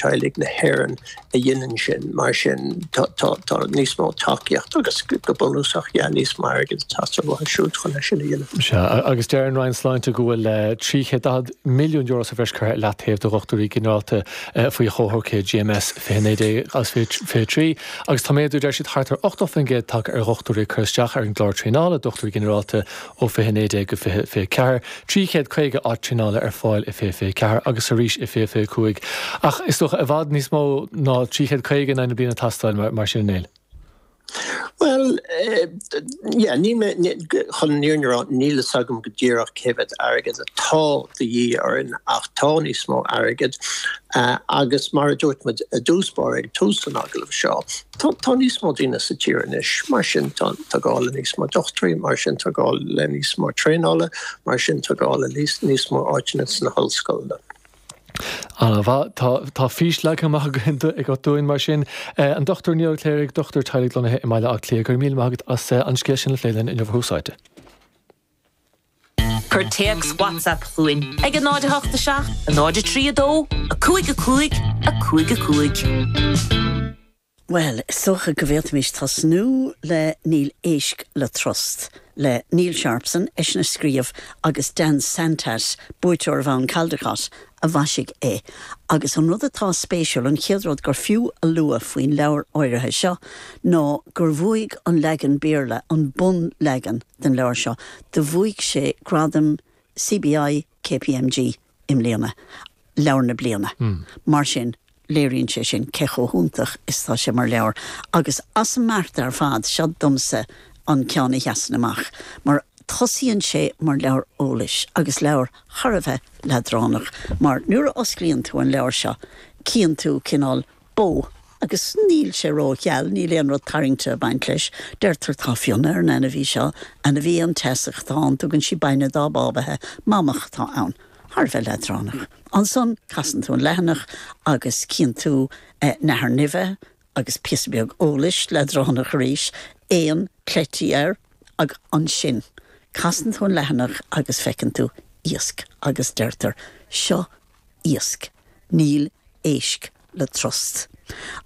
Teaghlaigh na hÉireann a dhéanann sin, mar sin tá níos mó tacaíocht agus go bunúsach, yeah, níos mó airgid ag teastáil uathu siúd chun é sin a dhéanamh. Sea, agus deir an Roinn Sláinte go bhfuil €340 milliún sa bhreis curtha i leataobh do dhochtúirí ginearálta faoi chomhshocruithe GMS 2019 agus 2023 agus tá méadú, deir siad, thart ar 80% tagtha ar dhochtúirí a cuireadh isteach ar an gclár traenála dochtúirí ginearálta ó 2019 go 2024. 350 áit traenála ar fáil i 2024 agus arís i 2025. Ach is dócha i bhfad níos mó ná 350 in aghaidh na bliana ag teastáil mar sin, a Néill. Bhuel, yeah, níl mé, chun an fhírinne a rá, níl fhios agam go díreach cé mhéad airgead atá de dhíth orainn ach tá níos mó airgid agus mar a dúirt muid i dtús báire ag tús an agallaimh seo, Tá tá níos mó daoine sa tír anois, mar sin tá tá gá le níos mó dochtúirí, mar sin tá gá le níos mó traenála, mar sin tá gá le níos níos mó áiteanna sna hollscoileanna. An-mhaith. Tá tá fís leagtha amach againn agat dúinn mar sin. An Dr Niall Ó Cléirigh, dochtúir teaghlaigh lonnaithe i mBaile Átha Cliath, go raibh míle maith agat as an scéal sin a phlé linn inniu ar Thús Áite. Cuir téacs WhatsApp chugainn ag 0 8 7 0 3 2 5 5 5 5. Bhuel, is dócha go bhféadfaimis tosnú le Níl Éisc le Trust le Neil Sharpson, eisean a scríobh, agus Dan Santat, buaiteoir Bhonn Caldecott, a mhaisigh é. Agus an rud atá spéisiúil, an chéad rud gur fiú a lua faoin leabhar áirithe seo ná gur bhuaigh an leagan Béarla, an bunleagan, den leabhar seo. Do bhuaigh sé gradam CBI KPMG i mbliana, Leabhar na Bliana. Mar sin, léiríonn sé sin cé chomh hiontach is atá sé mar leabhar. Agus as an mbeart ar fad, seo domsa an ceann a sheasann amach, mar tosaíonn sé mar leabhar eolais agus leabhar thar a bheith leadránach, mar nuair a osclaíonn tú an leabhar seo, cíonn tú cineál bó, agus níl sé ró-gheal, níl aon rud tarraingteach ag baint leis. Deirtear tá fionnadh ar an ainmhí seo, ainmhí aonteasach atá ann, tugann sí bainne dá bábaithe, mamach atá ann. Thar a bheith leadránach. Ansan, casann tú an leathanach agus cíonn tú nathair nimhe agus píosa beag eolais, leadránach arís, éan, cleití air, ag ansin, casann tú an leathanach agus feiceann tú iasc agus deirtear, seo iasc, níl éisc le trust.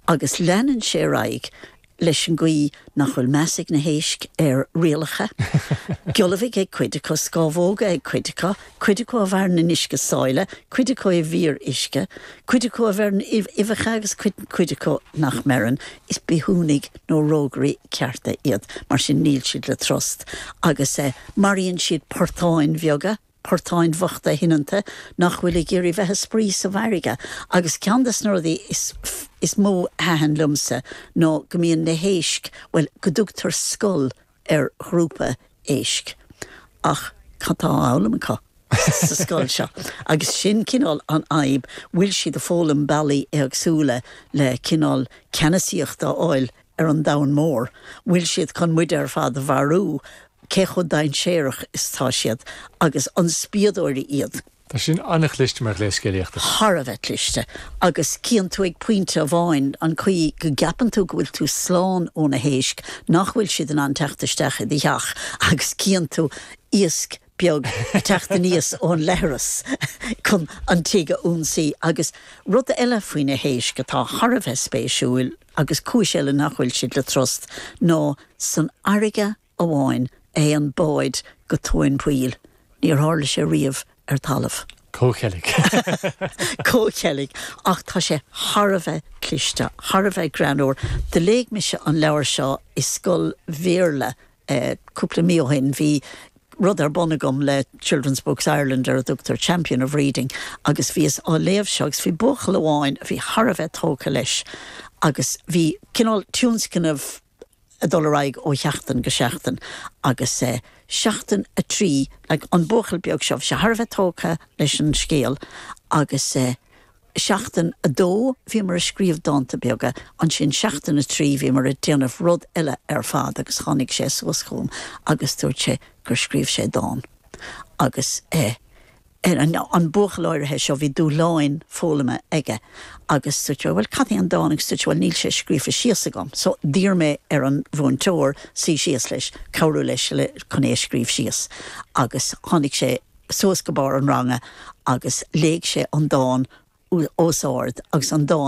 Agus leanann sé ar aghaidh leis an gcaoi nach bhfuil meas ag na héisc ar rialacha. Giollamhaigh ag cuid acu, scámhóga ag cuid acu, cuid acu a mhaireann in uisce sáile, cuid acu i bhfíor-uisce, cuid acu a bheireann uibheacha agus cuid acu nach mbeireann. Is bithiúnaigh nó rógairí cearta iad, mar sin níl siad le trust. Agus maraíonn siad portáin bheaga. portáin bhochta shoineanta nach bhfuil ag iarraidh bheith ag spraoi sa bhfarraige. Agus ceann des na rudaí is is mó a thaitin liomsa ná go mbíonn na héisc, bhuel, go dtugtar scoil ar ghrúpa éisc. Ach cad tá á fhoghlaim acu sa scoil seo? Agus sin cineál an fhadhb, bhfuil siad ag foghlaim bealaí éagsúla le cineál ceannasaíocht a fháil ar an domhan mór? Bhfuil siad chun muide ar fad a mharú? Cé chomh dainséarach is atá siad? Agus an spiadóirí iad? Tá sin an-chliste mar ghléas scéalaíochta. Thar a bheith cliste. Agus cíonn tú ag pointe amháin an chaoi go gceapann tú go bhfuil tú slán ó na héisc, nach bhfuil siad in ann teacht isteach i do theach agus cíonn tú iasc beag ag teacht aníos ón leithreas chun an tigh a ionsaí. Agus rud eile faoi na héisc atá thar a bheith spéisiúil, agus cúis eile nach bhfuil siad le trust, ná san fharraige amháin a théann báid go tóin poill. Níor tharla sé riamh ar talamh. Comhcheilg. Comhcheilg. Ach tá sé thar a bheith cliste, thar a bheith greannmhar. Do léigh mise an leabhar seo i scoil Bhéarla Cúpla mí ó shin bhí rud ar bun agam le Children's Books Ireland ar a dtugtar Champion of Reading agus bhíos á léamh seo agus bhí buachaill amháin a bhí thar a bheith tógtha leis agus bhí cineál tionscnamh ag dul ar aghaidh ó sheachtain go seachtain agus seachtain 3 like an buachaill beag seo bhí sé thar a bheith tógtha leis an scéal agus Seachtain 2, bhíomar ag scríobh dánta beaga. Ansin seachtain 3, bhíomar ag déanamh rud eile ar fad agus tháinig sé suas chugam agus dúirt sé gur scríobh sé dán. Agus eh an buachaill áirithe seo, bhí dúshláin foghlama aige agus dúirt mé, bhuel cad é an dán agus dúirt sé, bhuel níl sé scríofa síos agam. So d'iarr mé ar an mhúinteoir suí síos leis, cabhrú leis le chun é a scríobh síos agus tháinig sé suas go barr an ranga agus léigh sé an dán os ard agus an dán.